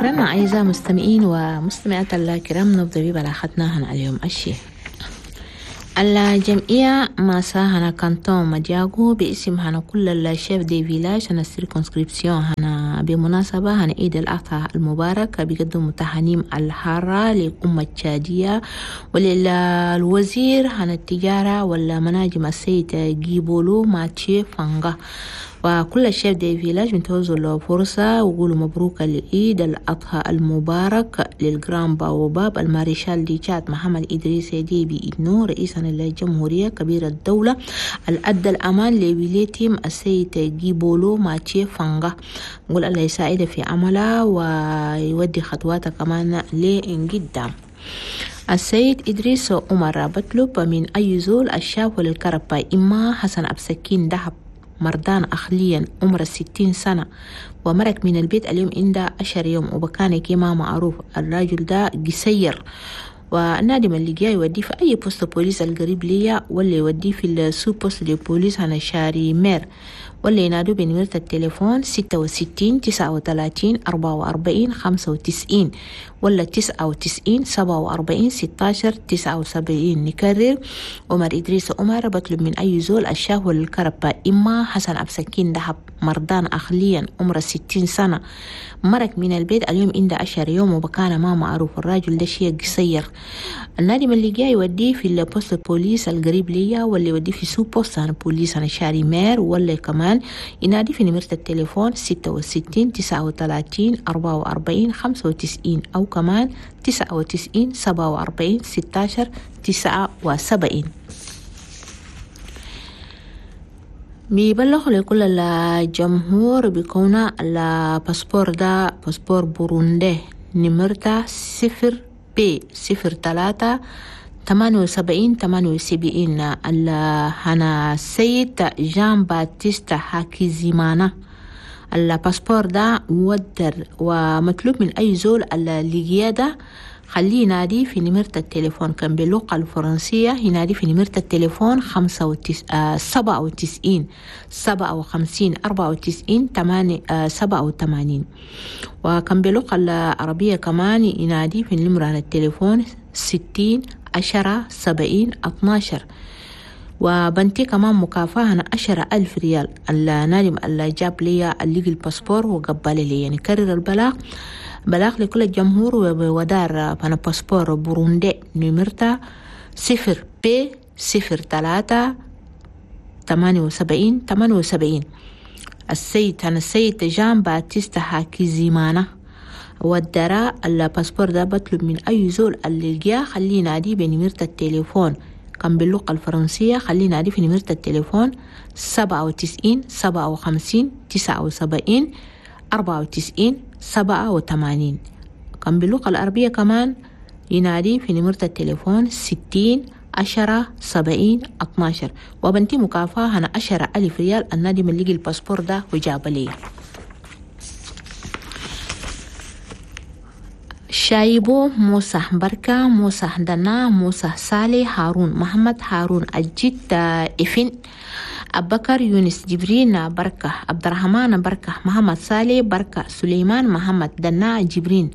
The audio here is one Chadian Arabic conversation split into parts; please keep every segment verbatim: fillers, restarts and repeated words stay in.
شكرا أعزائي المستمعين ومستمعات الكرام، نبدأ ببلاغتنا هنا اليوم الشيء. الجمعية ماسا هنا canton مدياغو باسم هنا كل ال chefs de village هنا circonscription هنا بمناسبة هنا عيد الأضحى المبارك بيقدموا تهانيم الحارة للأمة التشادية وللوزير هنا التجارة والمناجم السيد جيبولو ماتشي فانغا، وكل ال chefs de village بنتوزوا الفرصة وقولوا مبروك العيد الأضحى المبارك لل grand baobab المارشال du Tchad محمد إدريس ديبي إدنو رئيسا للجمهورية كبير الدولة الأدى الأمان لولايتهم السيد جيبولو ماتشي فانغا. نقول الله يساعده في عمله ويودي خطواته كمان لقدام. السيد إدريس عمر بطلب من أي زول الشاف للكربة إما حسن أبسكين دهب مردان أخليا عمر الستين سنة ومرك من البيت اليوم عنده عشر يوم وبكان كما معروف الراجل ده قصير، والنادم اللي جاي يوديه في أي poste police القريب ليا ولا يوديه في ال sous-poste de police هنا شاري مير، ولا ينادوا بنمرة التليفون ستة وستين تسعة وتلاتين أربعة وأربعين خمسة وتسعين ولا تسعة وتسعين سبعة وأربعين ستاشر تسعة وسبعين. نكرر عمر إدريس عمر بطلب من أي زول الشاه والكربة إما حسن أبسكين دهب مردان أخليا عمر ستين سنة مرك من البيت اليوم عنده عشر يوم وبكان ما معروف الراجل ده شيء قصير. النادم اللي جاي يوديه في ال poste police القريب ليا ولا يوديه في sous-poste أنا بوليس أنا شاري مير، ولا كمان ينادي في نمرة التليفون ستة وستين تسعة وتلاتين أربعة وأربعين خمسة وتسعين أو كمان تسعة وتسعين سبعة وأربعين ستاشر تسعة وسبعين. بيبلغ لكل الجمهور بكون الباسبور ده باسبور بوروندي نمرته صفر بي صفر تلاتة ثمانية وسبعين ثمانية وسبعين هنا السيد جان باتيستا هاكيزيمانا. الباسبور ده مودر ومطلوب من أي زول اللي خليه ينادي في نمرة التليفون كان باللغة الفرنسية ينادي في نمرة التليفون خمسة وتس... آه سبعة وتسعين سبعة وخمسين أربعة وتسعين تمانية آه سبعة وثمانين، وكان باللغة العربية كمان ينادي في نمرة التليفون ستين عشرة سبعين اتناشر. وبنتي كمان مكافأة أنا عشرة ألف ريال النادم اللي جاب لي اللي الباسبور وقبل لي. يعني كرر البلاغ بلاغ لكل الجمهور ودار أنا باسبور بوروندي نمرته صفر بي صفر ثلاثة ثمانية وسبعين ثمانية وسبعين. السيد أنا السيد جان باتيستا هاكيزيمانا والدراء الباسبور ده بطلب من أي زول اللي جا خليه ينادي بنمرة التليفون كان باللغة الفرنسية خليه ينادي في نمرة التليفون سبعة وتسعين سبعة وخمسين تسعة وسبعين أربعة وتسعين سبعة وثمانين. كان باللغة العربية كمان ينادي في نمرة التليفون ستين عشرة سبعين اتناشر. وبنتي مكافأة هنا عشرة ألف ريال النادي من لقي الباسبور ده وجاب لي. شايبو موسى بركة موسى دنا موسى صالح هارون محمد هارون الجد إفن أبكر يونس جبرين بركة عبد الرحمن بركة محمد صالح بركة سليمان محمد دنا جبرين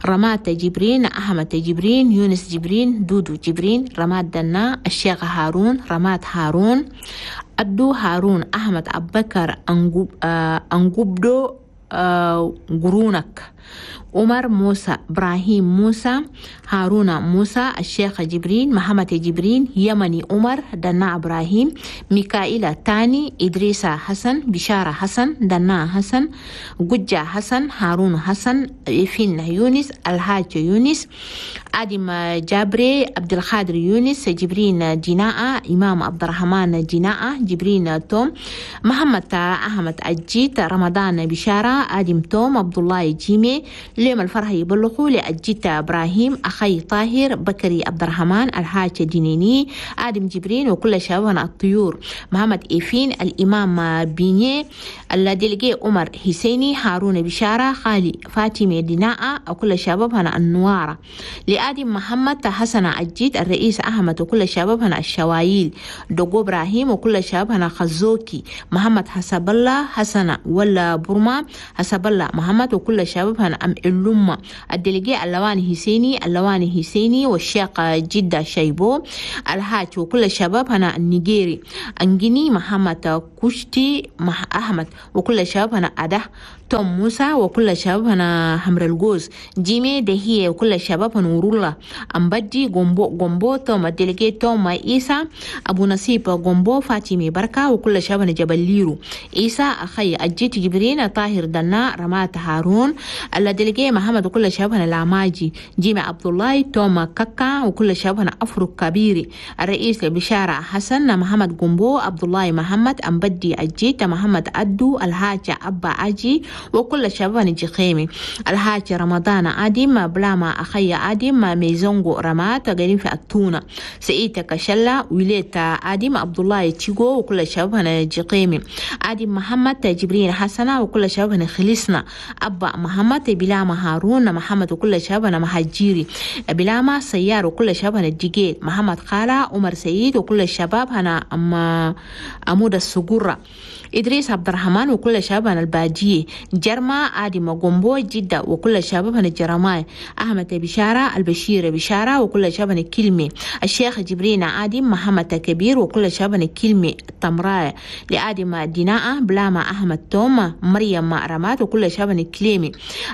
رمات جبرين أحمد جبرين يونس جبرين دودو جبرين رمات دنا الشيخ هارون رمات هارون أدو هارون أحمد أبكر أنجوب أنجوبدو قرونك عمر موسى إبراهيم موسى هارون موسى الشيخ جبرين محمد جبرين يمني عمر دنا إبراهيم ميكائيل تاني إدريس حسن بشارة حسن دنا حسن ججة حسن هارون حسن إفين يونس الحاج يونس آدم جابري عبد القادر يونس جبرين جناء إمام عبد الرحمن جناء جبرين توم محمد أحمد أجيت رمضان بشارة آدم توم عبد الله جيمي ليم الفرح يبلغوا لأجيت إبراهيم أخي طاهر بكري عبد الرحمن الحاج دينيني آدم جبرين وكل شبابنا الطيور محمد إيفين الإمام بيني الدلقي عمر حسيني هارون بشارة خالي فاطمة ديناء وكل شبابنا النوارة لآدم محمد حسن أجيت الرئيس أحمد وكل شبابنا الشوايل دوغو إبراهيم وكل شبابنا خزوكي محمد حسب الله حسن ولا برما حسب الله محمد وكل الشباب هنا أم اللمة الدلجي اللواني حسيني اللواني حسيني والشيخ جدة شيبو الحاج وكل الشباب هنا النيجيري أنجيني محمد كوشتي مح أحمد وكل الشباب هنا أده توم موسى وكل الشباب هنا حمر الجوز جيمي دهية وكل الشباب هنا نور أمبدي جومبو جومبو توم الدلجي توم إيسا أبو نصيب جومبو فاطمة بركة وكل الشباب هنا جبل ليرو إيسا أخي أجيت جبرين طاهر دنا رمات هارون الدلجي محمد وكل الشباب هنا العماجي جيمي عبد الله توم كاكا وكل الشباب هنا أفرو كبيري الرئيس بشارة حسن محمد جومبو عبد الله محمد أمبدي أجيت محمد أدو الحاج أبا أجي وكل الشباب جخيمي الحاج رمضان آدم بلاما أخي آدم ميزونغو رمات غيرين في التونة سئيتا كشلا ويليتا آدم عبد الله تيغو وكل الشباب جخيمي آدم محمد جبرين حسنة وكل الشباب خلصنا أبا محمد بلاما هارون محمد وكل الشباب مهاجيري بلاما سيار وكل الشباب الجيجيل محمد خالة عمر سيد وكل الشباب هنا أما أمود السجورة إدريس عبد الرحمن وكل شباب الباجية جرما آدم غومبو جدة وكل شباب الجرماي أحمد بشارة البشير بشارة وكل شباب كلمة الشيخ جبرين آدم محمد كبير وكل شباب كلمة تمراء لآدم ديناء بلاما أحمد توم مريم رمات وكل شباب كلمة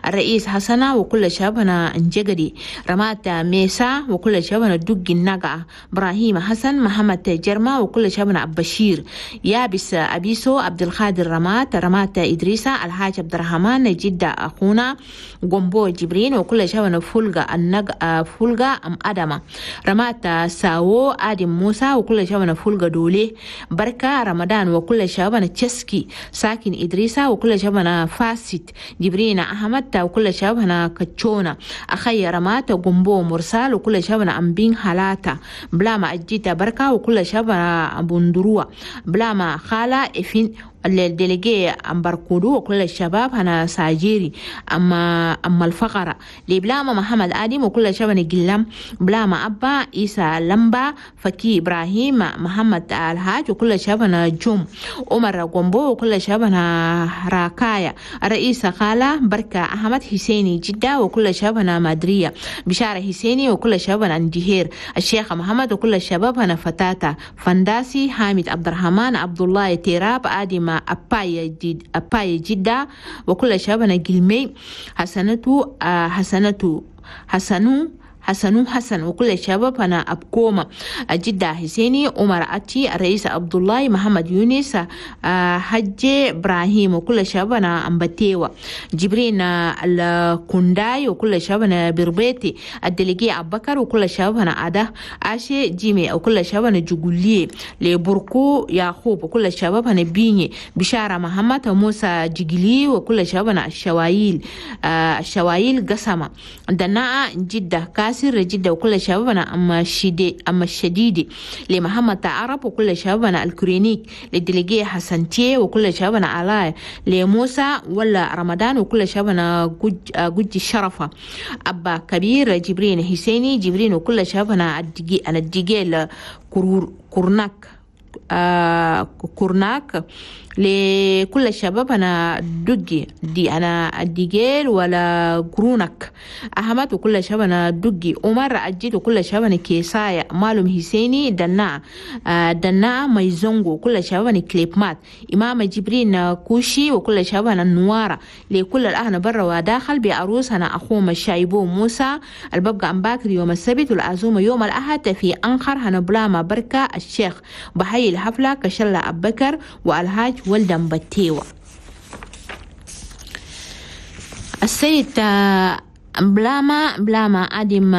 الرئيس حسنة وكل شباب انجقدي رمات ميسا وكل شباب دق النقع إبراهيم حسن محمد جرما وكل شباب بشير يابس أبيسو عبد القادر رمات رمات إدريسة الحاج عبد الرحمن جدة أخونا جومبو جبرين وكل شباب فولغا النج فولغا أم أدمة رمات ساو آدم موسى وكل شباب فولغا دولي بركة رمضان وكل شباب تشسكي ساكن إدريسة وكل شباب فاسد جبرين أحمد وكل شباب كتشونا أخي رمات جومبو مرسال وكل شباب أمبين حالاتا بلاما أجيتا بركة وكل شباب بندروا بلاما خالة إفين الدلجي أمبركودو وكل الشباب هنا ساجيري أما أما الفقرة لبلاما محمد آدم وكل الشباب جلام بلاما أبا إيسا لمبا فكي إبراهيم محمد الحاج وكل الشباب هنا جوم عمر غومبو وكل الشباب هنا راكايا الرئيس خالة بركة أحمد حسيني جدة وكل الشباب هنا مدرية بشارة حسيني وكل الشباب هنا اندهير الشيخ محمد وكل الشباب هنا فتاتا فنداسي حامد عبد الرحمن عبد الله تيراب آدم أباي جد أباي جدة وكل شبابنا جلمي حسنتو حسنتو حسنو حسنو حسن وكل الشباب أنا أبكوما جدة حسيني عمر أتي الرئيس عبد الله محمد يونس حج إبراهيم وكل الشباب أنا أمبتيوة جبرين الكونداي وكل الشباب أنا بربيتي الدليجي أبكر وكل الشباب أنا أده أشي جيمي وكل الشباب أنا جوجولي لبركو يعقوب وكل الشباب أنا بيني بشارة محمد موسى جيجلي وكل الشباب أنا الشوايل الشوايل قسمة دناء جدة كاس سر جدة وكل شبابنا أما الشديد أما الشديد لمحمد عرب وكل شبابنا الكرينيك للدليجية حسن تي وكل شبابنا علاء لموسى ولا رمضان وكل شبابنا جج جج الشرفة أبا كبير جبرين حسيني جبرين وكل شبابنا الدجي أنا الدجيل كرور كورناك آه كورناك لكل الشباب أنا دقي دي أنا الدجيل ولا قرونك أحمد وكل الشباب أنا دقي عمر أجيد وكل الشباب أنا كيسايا مالهم حسيني دنا دنا ميزونغو وكل الشباب أنا كليبمات إمام جبرين كوشي وكل الشباب أنا النوارة لكل الأهل برا وداخل بعروس أنا أخوهم الشايبو موسى الببقى أمباكر يوم السبت والعزومة يوم الأحد في أنخر هنبلاما بركة الشيخ بحي الحفلة كشلة أبكر والحاج ولدن بتيوة. السيد بلاما بلاما آدم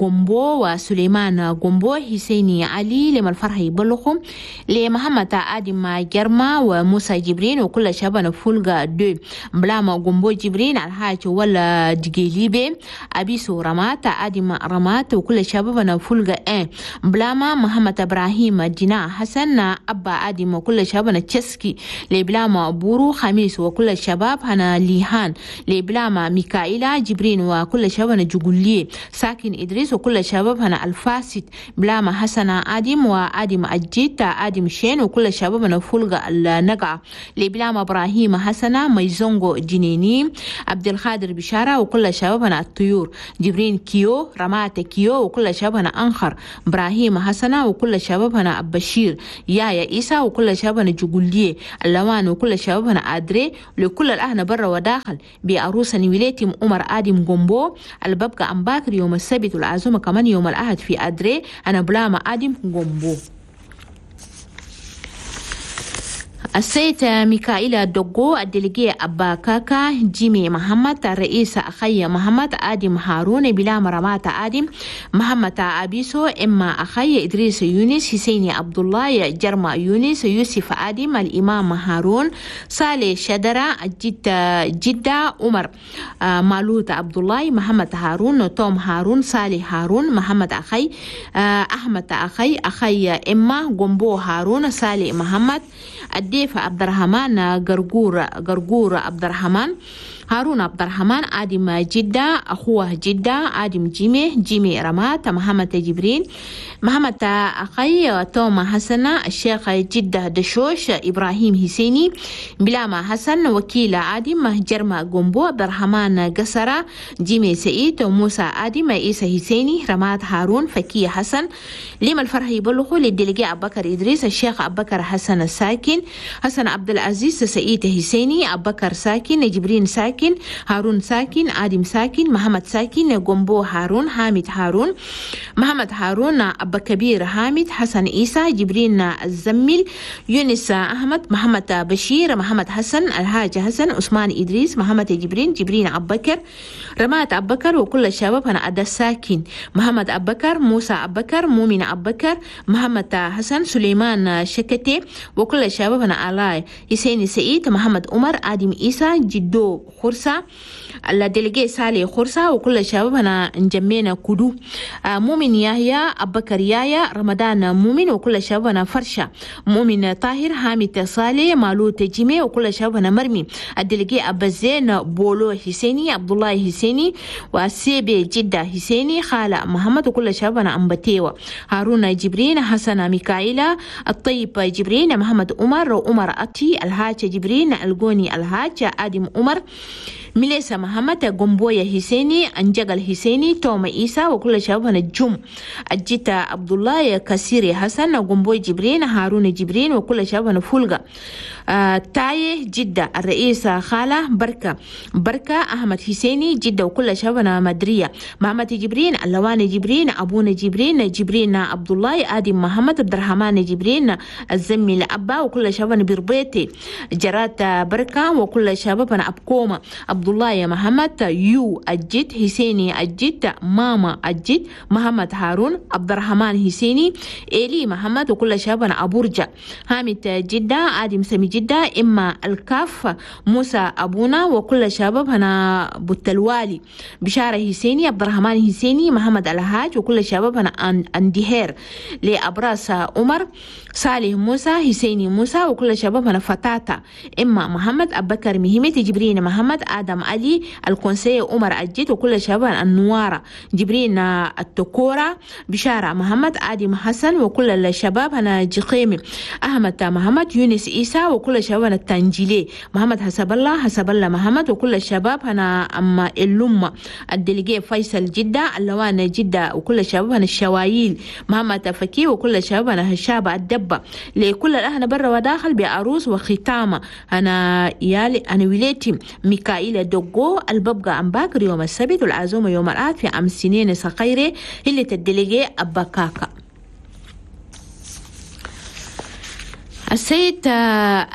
غومبو وسليمان غومبو حسيني علي لما الفرح يبلغهم لمحمد آدم جرما وموسى جبرين وكل شباب فولغا دو بلاما غومبو جبرين الحاج ولا دجيليبي أبيسو رمات آدم رمات وكل شباب فولغا ان بلاما محمد إبراهيم جنا حسن أبا آدم وكل شباب تشسكي لبلاما بورو خميس وكل الشباب هنا ليهان لبلاما ميكائيلا جبرين وكل شبابنا جوجوليه ساكن إدريس وكل شبابنا الفاسد بلاما حسن آدم وآدم أجيت آدم شين وكل شبابنا فولغ النقع لبلاما إبراهيم حسنة ميزونغو جنيني عبد القادر بشارة وكل شبابنا الطيور جبرين كيو رمات كيو وكل شبابنا أنخر إبراهيم حسنة وكل شبابنا بشير يايا إيسا وكل شبابنا جوجوليه اللوان وكل شبابنا أدري لكل الأهل برا وداخل بعروسة نويلتهم عمر آدم جومبو الببقى أمباكر يوم السبت والعزومة كمان يوم الأحد في أدري أنا بلاما آدم جومبو. السيد ميكائيل دوغو الدليجي أبا كاكا جيمي محمد الرئيس أخي محمد آدم هارون بلا مرمات آدم محمد أبيسو إما أخي إدريس يونس حسيني عبد الله جرما يونس يوسف آدم الإمام هارون صالح شدرة جدة جدة عمر مالوت عبد الله محمد هارون توم هارون صالح هارون محمد أخي أحمد أخي أخي إما جومبو هارون صالح محمد الديف عبد الرحمن غرغور غرغور عبد الرحمن هارون عبد الرحمن آدم جدة أخوه جدة آدم جيمي جيمي رمات محمد جبرين محمد أخي توما حسن الشيخ جدة دشوش إبراهيم حسيني بلاما حسن وكيل آدم جرما جومبو عبد الرحمن قسرة جيمي سعيد موسى آدم عيسى حسيني رمات هارون فكي حسن لما الفرح يبلغوا للدلقاء أبو بكر إدريس الشيخ أبو بكر حسن الساكن حسن عبد العزيز سعيد حسيني أبو بكر ساكن جبرين ساكن هارون ساكن آدم ساكن محمد ساكن جومبو هارون حامد هارون محمد هارون أبا كبير حامد حسن عيسى جبرين الزميل يونس أحمد محمد بشير محمد حسن الحاج حسن عثمان إدريس محمد جبرين جبرين أبو بكر رمات أبو بكر وكل الشباب أنا أدا ساكن محمد أبو بكر موسى أبو بكر مؤمن أبو بكر محمد حسن سليمان شكتي وكل الشباب أنا علاء حسين سعيد محمد عمر آدم عيسى جدو خرسة الدليجي سالي خرسة وكل الشباب أنا نجمينا كدو مؤمن يحيى أبو بكر يايا رمضان مؤمن وكل الشباب أنا فرشة مؤمن طاهر حامد صالح مالوت جيمي وكل الشباب أنا مرمي الدليجي أبو زين بولو حسيني عبد الله حسيني وسيبي جدة حسيني خالة محمد وكل الشباب أنا أمبتيوة هارون جبرين حسن ميكائيلا الطيب جبرين محمد عمر عمر أتي الحاج جبرين الجوني الحاج آدم عمر ميليسا محمد جومبويا حسيني أنجغل حسيني توما إيسا وكل شبابنا الجم الجيتا عبد الله كسيري حسن جومبوي جبرين هارون جبرين وكل شبابنا فولغا آه تاي جدة الرئيس خالة بركة بركة أحمد حسيني جدة وكل شبابنا مدرية محمد جبرين اللوان جبرين أبونا جبرين جبرين عبد الله آدم محمد عبد الرحمن جبرين الزمي الأبا وكل شبابنا بربيتي جرات بركة وكل شبابنا أبكوما عبد الله يا محمد يو الجد حسيني الجد ماما الجد محمد هارون عبد الرحمن حسيني إلي محمد وكل شبابنا أبورجا حامد جدة آدم سمي جدة إما الكاف موسى أبونا وكل شباب هنا بوتلوالي بشارة حسيني عبد الرحمن حسيني محمد الهاج وكل شباب هنا أندهير لأبراس عمر صالح موسى حسيني موسى وكل شباب هنا فتاتا إما محمد أبو بكر مهمة جبرين محمد آدم علي الكونسي عمر الجد وكل شباب النوارة جبرين التكورة بشارة محمد آدم حسن وكل الشباب هنا جقيمي أحمد محمد يونس إيسا وكل شباب التنجيلي محمد حسب الله حسب الله محمد وكل الشباب هنا أما اللمة الدليجي فيصل جدة اللوان جدة وكل الشباب هنا الشوايل محمد فكي وكل الشباب هنا هشابة الدبة لكل الأهل برا وداخل بعروس وختامة أنا يالي أنا وليتي ميكائيل دوغو الببقى أمباكر يوم السبت والعزومة يوم الأحد في أم سنين سقيرة اللي تدليجي أباكاكا. السيد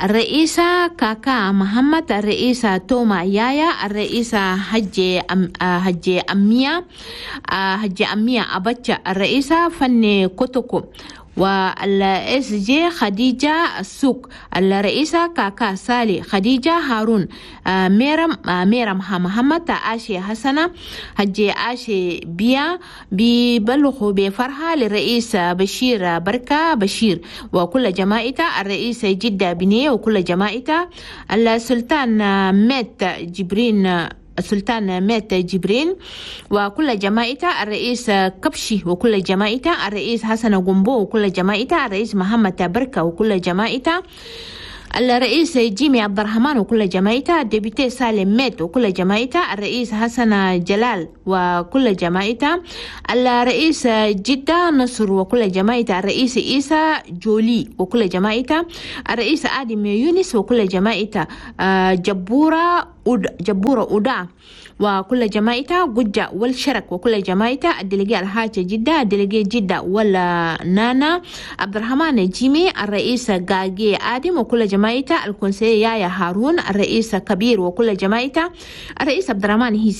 الرئيسة كاكا محمد الرئيسة توما يايا الرئيسة حجي أم حجي أمية حجي أمية أبتشا الرئيسة فني كوتوكو والإس جي خديجة السوق الرئيسة كاكا سالي خديجة هارون ميرم ميرم محمد آشي حسنة حجي آشي بيا بيبلغوا بفرحة للرئيس بشير بركة بشير وكل جماعته الرئيس جدة بني وكل جماعته السلطان مات جبرين السلطان مات جبرين وكل جماعته، الرئيس كبشي وكل جماعته، الرئيس حسن قنبو وكل جماعته، الرئيس محمد بركة وكل جماعته، الرئيس جيمي عبد الرحمن وكل جماعته، ال député سالم ميت وكل جماعته، الرئيس حسن جلال وكل جماعته، الرئيس جدة نصر وكل جماعته، الرئيس عيسى جولي وكل جماعته، الرئيس آدم يونس وكل جماعته، جبورة جبورة أودا وكل جماعته، قجة والشرك وكل جماعته، ال délégué الحاج جدة، ال délégué جدة ولا نانا عبد الرحمن جيمي، الرئيس غاجي آدم وكل جماعته، ال conseiller يايا هارون، الرئيس كبير وكل جماعته، الرئيس عبد الرحمن هيسي.